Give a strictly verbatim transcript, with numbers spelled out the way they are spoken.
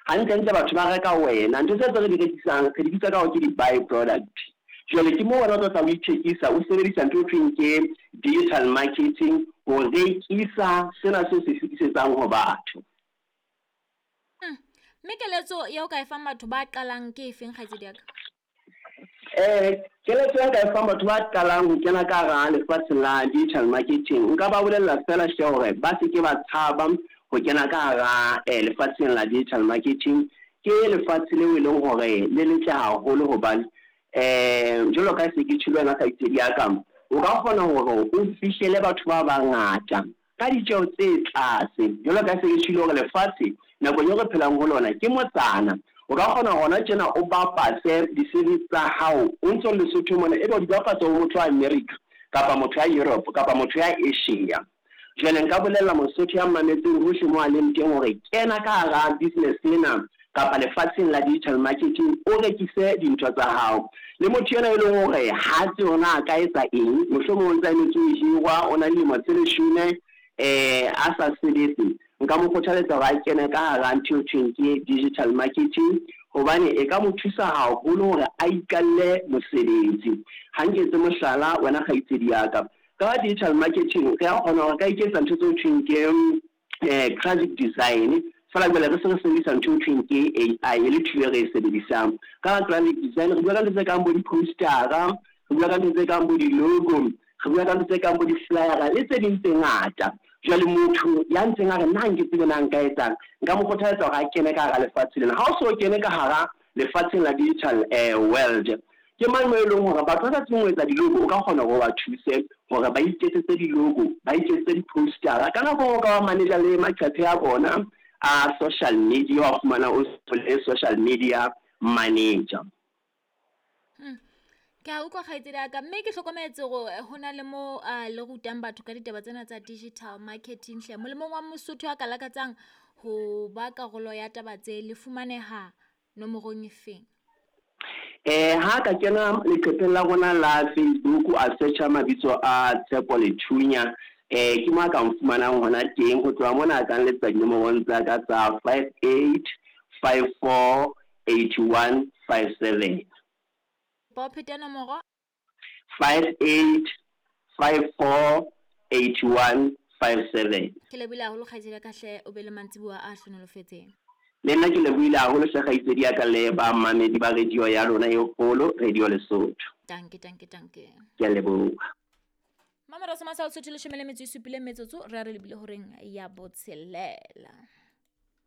Hantlentle batho ba reka wena, ntho tse tse re di rekisang re di bitsa ka hore ke di-by product. Jwale ke moo wena o tlo tla o ithekisa, o sebedisa ntho e thweng ke digital marketing ho rekisa sena seo se fetisetsang ho batho. Mme keletso ya o ka e fang batho ba qalang ke efeng, kgaitsedi ya ka? Eh, keletso ya nka e fang batho ba qalang ho kena ka hara lefatshe la digital marketing, nka ba bolella feela hle hore ba se ke ba tshaba ho kena ka hara eh, lefatsheng la digital marketing. Ke lefatshe leo e leng hore le letle haholo hobane eh jwalo ka se ke tjholo wena kgaitsedi ya ka, o ka kgona hore o fihlele batho ba bangata ka ditjeho tse tlase. Jwalo ka se ke tjholo hore lefatshe nakong eo re phelang ho lona ke motsana, o ka kgona hona tjena o bapatse di-service tsa hao o ntso le Lesotho mona, ebe o di bapatsa ho motho wa America kapa motho ya Europe kapa motho ya Asia. Jwale nka bolella Mosotho ya mametseng hohle mo a leng teng hore kena ka hara business ena kapa lefatsheng la digital marketing, o rekise dintho tsa hao. Le motho ena e leng hore ha tsebe hore na a ka etsa eng, mohlomong o ntsa emetse ho hirwa, o na le dilemo tse leshome eh a sa sebetse, nka mo kgothaletsa hore a kene ka hara ntho eo thweng ke digital marketing, hobane e ka mo thusa haholo hore a iqalle mosebetsi. Ha nketse mohlala wena kgaitsedi ya ka, ka digital marketing re a kgona hore ka iketsa ntho tseo thweng ke eh graphic design, feela jwale re se re sebedisa ntho eo thweng ke A I e le thuo e re e sebedisang. Ka graphic design re bua ka ntho tse kang bo di-poster-a, re bua ka ntho tse kang bo di-logo, re bua ka ntho tse kang bo di-flyer-a le tse ding tse ngata. Jwale motho ya ntseng a re nna nke tsebe na nka etsang, nka mo kgothaletsa hore a kene ka hara lefatshe lena. Ha o so kene ka hara lefatsheng la digital eh world, ke mang mo e leng hore batho ba sa tsebeng ho etsa di-logo, o ka kgona hore o ba thuse hore ba iketsetse di-logo, ba iketsetse di-poster-a. Ka nako o ka ba manager le maqephe a bona a social media, wa fumana o le social media manager. Hmm. Ke a utlwa kgaitsedi ya ka, mme ke hlokometse hore ho na le mo le rutang batho ka ditaba tsena tsa digital marketing hle. Molemong wa Mosotho a ka lakatsang ho ba karolo ya taba tse, le fumaneha nomorong e feng? Eh ha ka kena leqepheng la rona la Facebook, a searcha mabitso a Tshepo Lethunya, eh ke mo a ka nfumanang hona teng. Ho tloha mona a ka nletsa dinomorong tsa ka tsa five eight five four eight one five seven. Ba pheta nomoro? five eight five four eight one five seven. Ke lebohile haholo kgaitsedi ya ka hle, o be le mantsiboya a hlonolofetseng. Le nna ke lebohile haholo hle kgaitsedi ya ka le ba mamedi ba radio ya lona e kgolo, Radio Lesotho. Danke, danke, danke. Ke a leboha. Mamera soma sa Lesotho leshome le metso e supileng metsotso, re a re lebile horeng ya botshelela.